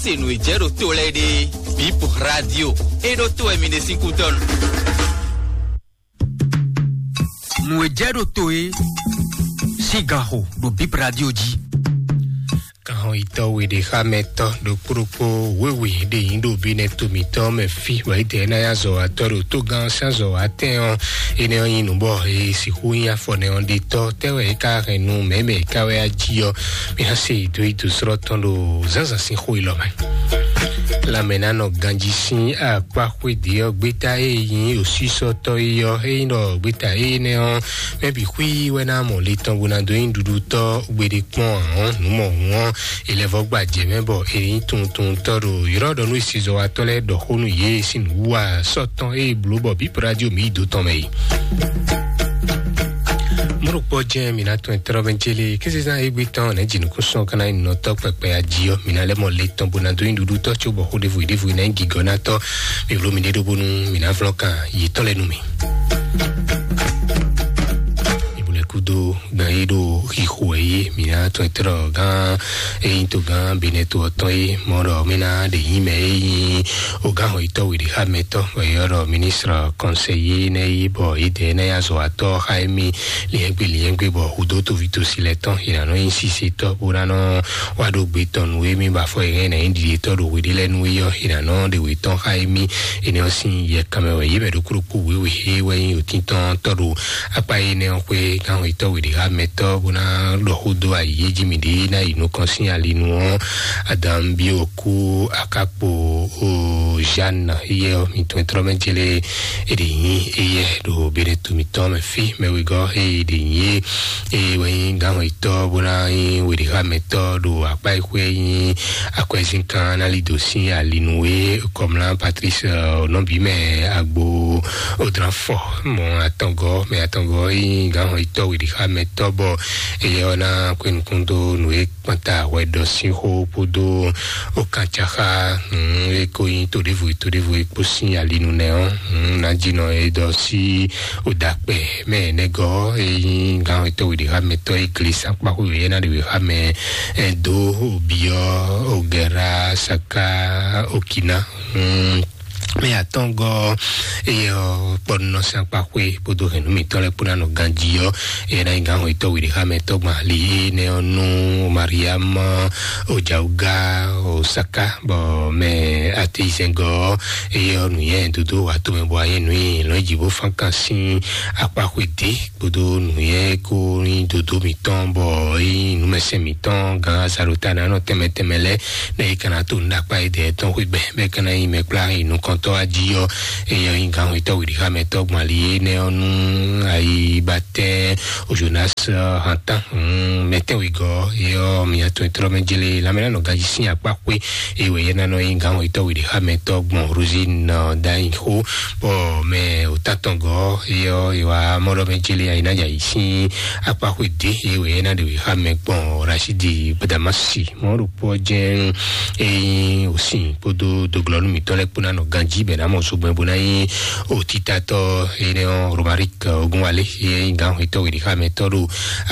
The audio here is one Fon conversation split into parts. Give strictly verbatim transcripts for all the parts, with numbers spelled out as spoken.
Se nǔ e jɛ ɖo to lɛ́ɛ ɖe, Bip Radio, é ɖó to wɛ mi ɖe sín kútɔ́ nu. Nǔ e jɛ ɖo to é sín ganxo ɖo Bip Radio jí. Kanxɔyitɔ́ we ɖe xá mɛ tɔ́ ɖokpó ɖokpó wěwe ɖe nyí ɖo bí nɛ́ to mǐtɔn mɛ fí, wɛ é dɛ ná yá zɔ atɔ́ ɖo tógán sín azɔ atɛn ɔ́. Énɛ́ ɔ́ nyí nǔ bɔ é sixú nyí afɔ nɛ́ ɔ́ ɖe tɔ́ tɛ́ wɛ é ka hɛn nú mɛ̌ mɛ é ka wɛ á jí ɔ́. Mi ná se dó yi dǒsrɔ́ tɔn ɖo zǎnzǎn sín xó élɔ́ mɛ. Lanmɛnánɔ ganjí sín akpá xwéde ɔ́, gbéta e nyí osísɔ́tɔ́ é ɔ́, é nyí ɖɔ gbéta énɛ́ ɔ́, mɛ bǐ xwí wɛ ná mɔ le tɔn bó ná dó nyí ɖuɖutɔ́ gbeɖé kpɔ́n ǎ ɔ́, nǔ mɔ hǔn ɔ́, è lɛ́ vɔ́ gba jɛ mɛ bɔ è nyí tuntuntɔ́ ɖo yrɔ́ ɖɔ nú esizɔ́watɔ́ lɛ́ɛ ɖɔ xó nú yě sín nǔwiwa sɔ́ tɔn e bló bɔ bǐ radio mǐ yi dó tɔn mɛ yi. Mɔɖokpɔ jɛ́n mǐ ná tɔn tlɔ́ mɛ jélé kézezán égbé tɔn nɛ̌ jinukúnsɔn ka ná nyí nɔtɔ́ kpɛkpɛ ají ɔ́, mǐ ná lɛ́ mɔ le tɔn bó ná dó nyí ɖuɖutɔ́ cóbɔ xó ɖěvo ɖěvo ná nyí gǐgɔ́nátɔ́. Mi vló mi ɖé ɖó bónú mǐ ná vlɔ́n kan yětɔn lɛ́ɛ nú mì. Ìbùnɛ̀kúdó gan yé ɖo xixo ɛ yé mǐ ná tɔn tlɔ́ gán eyín tó gán benɛto ɔtɔn yé mɔ ɖɔ mí ná ɖe yín mɛ eyín o gán xɔ yítɔ́ wěɖé xá mɛtɔ́ wɛ yɔ́ ɖɔ ministre conseiller nɛ yí bɔ yědɛɛ nɛ yá zɔ atɔ́ xá émí liɛ́ngbé liɛ́ngbé bɔ hudó toví tosi lɛ tɔn yě ná nɔ nyí sisetɔ́ bó ná nɔ wá ɖó gbe tɔn nú émí bɔ afɔ yě hɛn ná nyí ɖiɖetɔ́ ɖo hweɖé lɛ́ɛ nú é yɔ́ yě ná nɔ ɖe wě tɔn xá émí. Énɛ́ ɔ́ sín yɛ kanmɛ wɛ yě mɛ ɖokpó ɖokpó wěwe é wɛ nyí òtíntɔ́n tɔ́ ɖo akpá énɛ́ ɔ́ xwé gánwetɔ́ wěɖé xá mɛtɔ́ bó ná ɖɔ xó dó ayǐ jí mǐ ɖě ná yi nukɔn sín ali nu ɔ́. Adam bí òkú akákpo o Jeanne yɛ ɔ́ mi tɔn trɔ́ mɛ jélé é ɖe nyí éyɛ ɖo bene to mǐtɔn mɛ fí mɛ wegɔ́ é ɖe nyí é é wɛ nyí gánwetɔ́ bó ná nyí wěɖé xá mɛtɔ́ ɖo akpá e xwé nyí akwɛzínkan ná lí dǒ sín ali nu é kɔmlá Patrice nɔbí mɛ agbo odran fɔ mɔ atɔngɔ mɛ atɔngɔ nyí gánwetɔ́ wěɖé xá mɛtɔ́ bɔ éyɛ ɔ́ ná kwɛ́ nukún dó nǔ e kpanta hwɛɖɔ sín xó kpódó okancaxa e ko nyí toɖévo toɖévo e kpó sín ali nu nɛ ɔ́. Ná jí nɔ e dɔ sí odakpɛ mɛ nɛgɔ e nyí gán etɔ́ wěɖé xá mɛ tɔ́ e gle sákpá xó wěyɛ́ ná ɖe wě xá mɛ dó obiɔ ogɛra saka okina. Mɛ atɔngɔ eye kpɔnɔ sín akpa xwé kpódó hɛn nú mǐtɔn lɛ́ɛ kpó ná nɔ ganjí ɔ́, eye ná nyí gán hɔn yětɔn wěɖé xá mɛ tɔ́gbɔn ali énɛ́ ɔ́ nú Mariam Ojawuga Osaka bɔ mɛ atezɛngɔ eye ɔ́ nǔnyɛ dodó wà tó mɛ bɔ ayé nú yìí lɔn jí bó fán kan sín akpa xwé dé kpódó nǔnyɛ kó nyí dodó mǐtɔn bɔ é nyí nǔmɛsɛn mǐtɔn gán azalota ná nɔ tɛnmɛ tɛnmɛ lɛ́ɛ nɛ é ka ná tó nú akpa é dɛ tɔn xwé gbɛ bɛ ka ná nyí mɛ kplá yi nukɔntɔ ají ɔ́. Eye ɔ́ nyí gán hwetɔ́ wěɖé xá mɛ tɔ́ gbɔn ali énɛ́ ɔ́ nú ayi batɛ o Jonas hantan mɛtɛn wegɔ eye ɔ́ mi atɔn trɔ mɛ jele lamɛ nɔ ganji sín akpa xwé eye wɛ yɛ nanɔ nyí gán hwetɔ́ wěɖé xá mɛ tɔ́ gbɔn Rosine dayin xó bɔ mɛ o tatɔn gɔ eye ɔ́ yi wa mɔɖɔ mɛ jele ayi ná dza yi sín akpa xwé dé eye wɛ yɛ ná ɖe wě xá mɛ gbɔn Rashidi Badamasi mɔ ɖokpó ɔ́ jɛ́n ényí òsìn kpódó doglɔ́nú mǐtɔn lɛ́ɛ kpó ná nɔ ganjí bɛ ná mɔ zogbɛ́n bó ná nyí òtítatɔ́ énɛ́ ɔ́ Romaric Ogunwalé é nyí gǎn xwetɔ́ wěɖíxámɛtɔ́ ɖo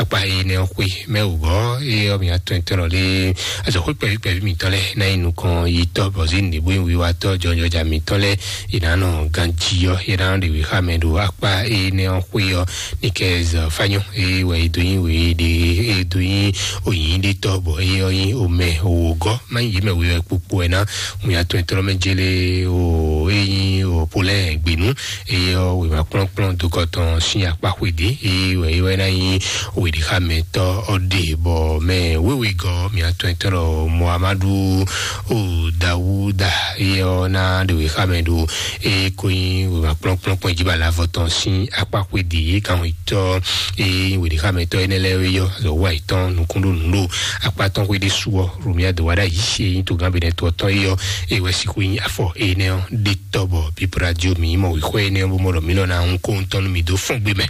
akpá énɛ́ ɔ́ xwé mɛ wǔgɔ́ é ɔ́ mǐ atɔn tɔn lé azɔ̌xwé kpɛví kpɛví mǐtɔn lɛ́ɛ ná nyí nukɔn yi tɔ́ bɔ̌ zé nǔɖé bó nyí wiwa tɔ́ jɔjɔja mǐtɔn lɛ́ɛ è nǎ nɔ ganjí ɔ́ é ná nɔ ɖe wěxámɛ ɖo akpá énɛ́ ɔ́ xwé ɔ́ Nikez Fanyɔn eye wɛ e dó nyi we ɖe e dó nyi oyin ɖe tɔ bɔ eye ɔ́ nyi omɛ wògɔ́ má nyi yě mɛ we wɛ kpokpo wɛ ná ŋun ya tɔn tɔn mɛ jele o e nyi o polɛ gbenu eye ɔ́ wema kplɔnkplɔn dokɔtɔn sin akpa xwe ɖe eye wɛ e wɛ ná nyi weɖexamɛtɔ ɔ́ ɖe bɔ mɛ wewegɔ mia tɔn tɔn Muhammadu o Dawuda eye ɔ́ ná ɖe wexamɛ ɖo eye ko nyi wema kplɔnkplɔn kpɔn jí ba lavɔ tɔn sin akpa xwe ɖe ye kan tɔ eye weɖexamɛtɔ énɛ́ lɛ́ɛ yɔ azɔ wa yětɔn nukún ɖo nǔ ɖo akpa tɔn xwé ɖésú ɔ́ Romia dó wa ɖ'ayǐ eye nyí togán benɛtɔ tɔn eye ɔ́ eye wɛ sixú nyí afɔ énɛ́ ɔ́ ɖe tɔ bɔ bíbra dio mǐ mɔ wǐxɔ énɛ́ ɔ́ bó mɔ ɖɔ mǐ lɔ ná hun kó ŋutɔn nú mǐ dó fɔ́n gbé mɛ.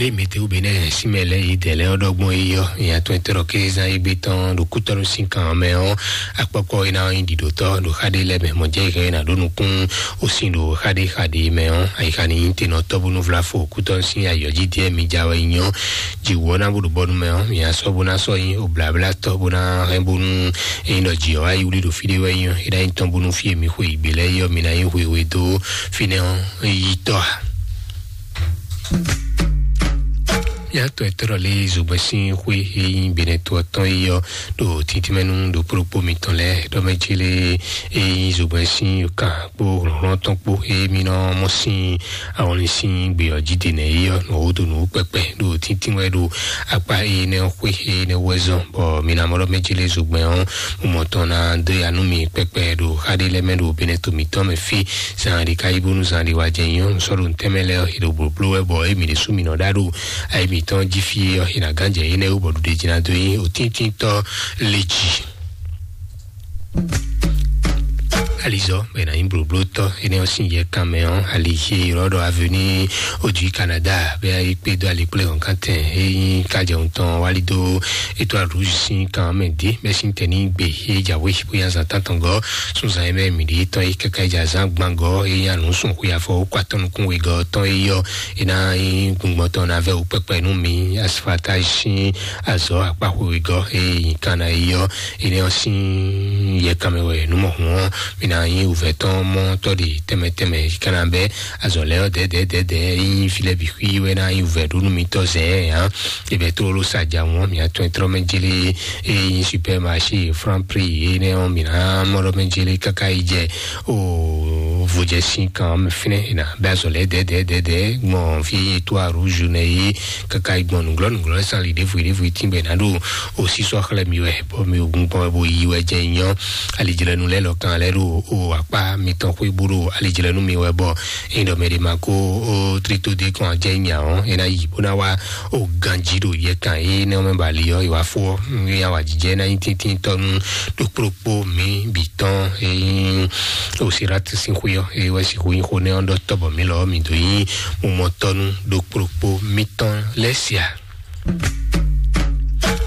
Ɖé mɛtɛwú be nɛ́ sín mɛ lɛ́ɛ yi dɛ̌ lɛ́ɛ ɔ́ ɖɔgbɔn yi ɔ́, nya tɔn tɛ́ ɖɔ kézán égbé tɔn ɖo kútɔ́nú sín kan ɔ́ mɛ ɔ́, akpɔkpɔ e ná nyí ɖiɖotɔ́ ɖo xá ɖé lɛ́ɛ mɛ mɔ̌ jɛ yi hɛn ná ɖó nukún ó sin ɖo xá ɖé xa ɖé mɛ ɔ́, ayixa ní nyí tenɔtɔ́ bónú vlá fo kútɔ́nú sín ayɔ̌ jí díɛ mi ja wɛ nyí ɔ́, jǐwú ɔ́ ná bó ɖo bɔ́nú mɛ ɔ́, mi ná sɔ́ bó ná sɔ́ nyí obláblátɔ́ bó ná hɛn bónú é nyí ɖɔ jǐ ɔ́ wá yi wlí ɖo fí ɖé wɛ nyí ɔ́, é ná nyí tɔn bónú fí e mi xwe yi gbě lɛ́ɛ yi ɔ́, mi ná nyí hwehwe dó fínɛ́ ɔ́ yi tɔ́ a. Mía tɔn e tɔ́ lé zogbɛ́n sín xwé e nyí Benɛto ɔ́ tɔn yi ɔ́ ɖo títínmɛnú ɖo kplɔ́kpó mitɔn lɛ́ɛ ɖɔ mɛ célé e nyí zogbɛ́n sín kan kpó hlɔ̌nhlɔ́n tɔn kpó e mí nɔ mɔ sín awɔnlin sín gbe ɔ́ jí ɖe nɛ̌ yi ɔ́ nɔ wó dó nǔ kpɛkpɛ ɖo títínwɛ ɖo akpá énɛ́ xwé énɛ́ wɛ zɔn, bɔ mi ná mɔ ɖɔ mɛ célé zogbɛ́n ɔ́ mɔ tɔn ná dó ya nú mi kpɛkpɛ ɖo xá ɖé lɛ́ɛ mɛ ɖo Benɛto mǐtɔn mɛ fí. Zan ɖi ka yi bónú zan ɖi wá jɛ nyɔ́ sɔ́ ɖo ntɛ́mɛ lɛ́ɛ ɔ́, è ɖo blǒbló wɛ bɔ émí ɖésú mǐ nɔ ɖá ɖo ayi mǐtɔn jí fí ɔ́, è nǎ gán jɛ énɛ́ wú bɔ ɖuɖéjí ná dó nyí òtíntíntɔ́ lé jí. Alizɔ bɛ na nyí blǒblótɔ́ énɛ́ ɔ́ sín yɛ kanmɛ ɔ́, ali e ylɔ́ ɖɔ Avenue Odui Canada bɛ yi kpé dó ali kplé hɔn kántɛn é nyí kájɛ ŋutɔn wali dó étoile rouge sín kan mɛ dé bɛ sín tɛ ní gbe é jǎwe bóyá zan tántɔn gɔ́ sún zan é mɛ mǐ ɖi tɔn é káká é jɛ azán gbangɔ é nyí anǔ sún xwe afɔ ó kó atɔ́ nukún wegɔ́ tɔn é yɔ é ná nyí gbɔngbɔn tɔn ná vɛ wú kpɛkpɛ nú mi asfaltage sín azɔ̌ akpá xwe wegɔ́ é nyí kan ná é yɔ énɛ́ ɔ́ sín yɛ kanmɛ wɛ nǔ mɔ hǔn ɔ́, mi ná nyí wǔvɛ́ tɔn mɔ tɔ́ ɖe tɛmɛ tɛmɛ kana bɛ azɔ̌ lɛ́ɛ ɔ́ dɛ̌dɛ̌dɛ̌dɛ̌ é nyí fí lɛ́ɛ bǐ xwí wɛ ná nyí wǔvɛ́ ɖó nú mitɔ́ zɛ̌ ǎ. È bɛ tlóló sa ja wɔn mì atɔn e tlɔ́ mɛ jlé é nyí supermarché Franprix énɛ́ ɔ́, mǐ ná mɔ ɖɔ mɛ jlé káká yi jɛ o vodjɛsin kan mɛ fínɛ́ è nǎ bɛ azɔ̌ lɛ́ɛ dɛ̌dɛ̌dɛ̌dɛ̌ gbɔn fí é nyí Étoile Rouge nɛ é káká yi gbɔn nǔglɔ́ nǔglɔ́ lɛ́ɛ sín ali ɖěvo ɖěvo tín bɔ è nǎ ɖo o sísɔ́ xlɛ́ mi wɛ bɔ mi o gun gbɔn wɛ bo yi wɛ jɛ nyɔ́. Alijlɛ́nu lɛ́ɛ lɔ kan lɛ́ɛ ɖo o akpá mitɔn xwé bó ɖo alijlɛ́nu mi wɛ bɔ é ɖɔ mɛ ɖé ma ko o trito dé kɔn ajɛ nya ɔ́ é ná yi bó ná wá o ganjí ɖo yɛ kan é nɛ ɔ́ mɛ ba ali ɔ́ yi wá fó ɔ́ é yá wá jijɛ ná nyí tíntín tɔnu ɖo kplɔ́kpó mi bǐ tɔn é nyí o Sirat sín xwé ɔ́ é wɛ sixú nyí xó nɛ ɔ́ ɖɔ tɔ́ bɔ mi lɔ mi dó nyí mumɔtɔnu ɖo kplɔ́kpó mitɔn lɛ́ sia.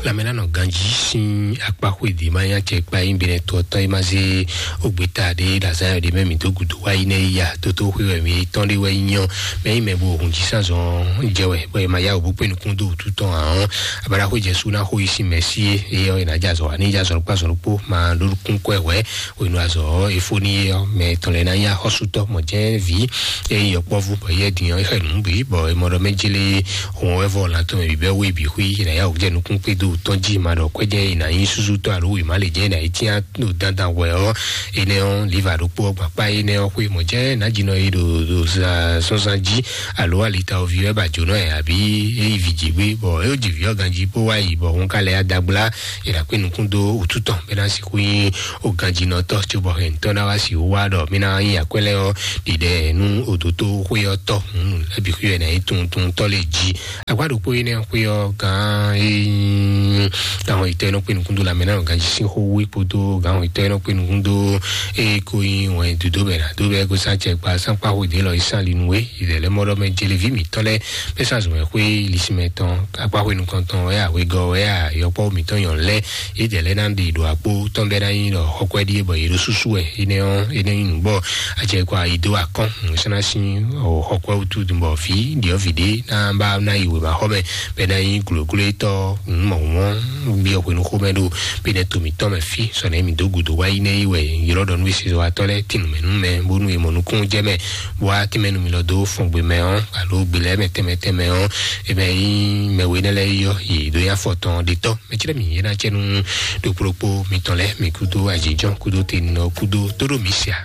Lamɛnanɔ ganjí sín akpá xwedì má nyá cɛ kpa yín bɛnɛ tó ɔtɔn yi má zé ogbeta ɖé ɖazán yɔ ɖé mɛ mi dó gudo wá yi nɛ ya tótó xwe wɛ mi tɔn ɖé wɛ nyɔ mɛ yi mɛ bo hun jí sán zɔn jɛ wɛ bɔ ma ya òbú pé nukún dó wútu tɔn ahɔn abala xwe jɛ sú ná xo yi sín mɛ sí é é yɔ yi ná jazɔ wa ní jazɔ kpá zɔn kpó ma ɖó kún kɔɛ wɛ wenu azɔ efo ní yé ɔ mɛ tɔn lɛ ná nyá xɔsútɔ mɔ jɛ vi é yɔ kpɔvu bɔ yɛ dinyɔ é xɛ nù bí bɔ emɔ ɖɔ mɛ jélé Hɔn wɛ vɔ lantɔn mɛ bibɛ we bi xwi na ya jɛ nukún kpé do tɔn jí ma ɖɔ kwɛjɛ yi na nyi susu tɔ alo wi ma le jɛ na yi tia no dandan wɛ ɔ ene ɔ liva ɖokpo ɔ gbakpa ene ɔ xwe mɔ jɛ na jinɔ yi ɖo ɖo zan sɔnzan jí alo alita ovi wɛ ba jonɔ yɛ abi eyi vi dzi gbe bɔ eyo dzi vi ɔ ganji po wa yi bɔ hɔn ka lɛ adagbla yi na kpe nukún do otu tɔn bɛ na si xwi o ganjinɔtɔ tso bɔ hɛn tɔ na wa si wa ɖɔ mi na yi akwɛ lɛ ɔ ɖiɖɛ nu odoto xwe ɔ tɔ hun ebi xwi wɛ na yi tun tun tɔ le jí Agba ɖokpó yi nɛ xwé ɔ́ gán é nyí gán xɔ yitɔ e nɔ kpé nukún dó lamɛ ná ganjí sín xó wú kpódó gán xɔ yitɔ e nɔ kpé nukún dó é kó nyí wɛn dodó bɛ ná dó bɛ kó sá cɛ kpa sánkpá xó dé lɔ yi sán linu é ìdɛ̀lẹ́ mɔɖɔ mɛ jeleví mǐtɔn lɛ bɛ sá zɔmɛ xwé lisimɛ tɔn akpá xwé nukɔn tɔn wɛ awegɔ wɛ ayɔkpɔ mǐtɔn nyɔn lɛ ìdɛ̀lẹ́ ná ɖe ɖo akpó tɔn bɛ ná nyí ɖɔ xɔkwɛ ɖíe bɔ yě ɖó súsú wɛ énɛ́ ɔ́ énɛ́ nyí nǔ bɔ acɛ kɔ ayi dó akɔn nǔsánná sín xɔkwɛ wútu bɔ fí ɖiɔ́ vǐ ɖé ná bá ná yi wěma xɔ mɛ bɛ ná nyí glǒglóétɔ́ nǔmɔ̌húnmɔ́ biɔ hwenu xomɛ ɖo bínɛ to mǐtɔn mɛ fí sɔnɛ mǐ dó gǔdo wá yi nɛ yi wɛ ylɔ́ ɖɔ nú esizɔwatɔ́ lɛ́ɛ tin nǔmɛ nú mɛ bónú è mɔ nukúnnú jɛ mɛ bó wá tínmɛ nú mi lɔ dó fɔngbe mɛ ɔ́ alo gbe lɛ́ɛ mɛ tɛnmɛ tɛnmɛ ɔ́ è mɛ nyí mɛ we nɛ lɛ́ɛ yɔ yě dó nyí afɔ tɔn ɖetɔ́ mɛ cɛ́ mi yě ná cɛ nú ɖokplokpo mitɔn lɛ́ɛ mi kúdó ajínjɔ́n kúdó tenɔ kúdó tóɖó mi sia.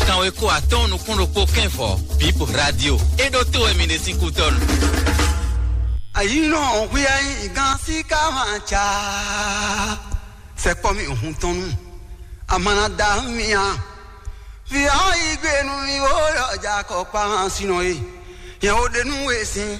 Kanwe ko atɔn nukún ɖokpó kɛnvɔ bip radio e ɖo to wɛ mi ɖe sín kútɔnu. Ayinɔ hwi ayi gan si ka ma ca sɛkpɔ mi hun tɔn nu amana da mi a vi ayi gbe nu mi wo yɔ ja kɔ kpa ma sinɔ ye yɛn o de nu we sin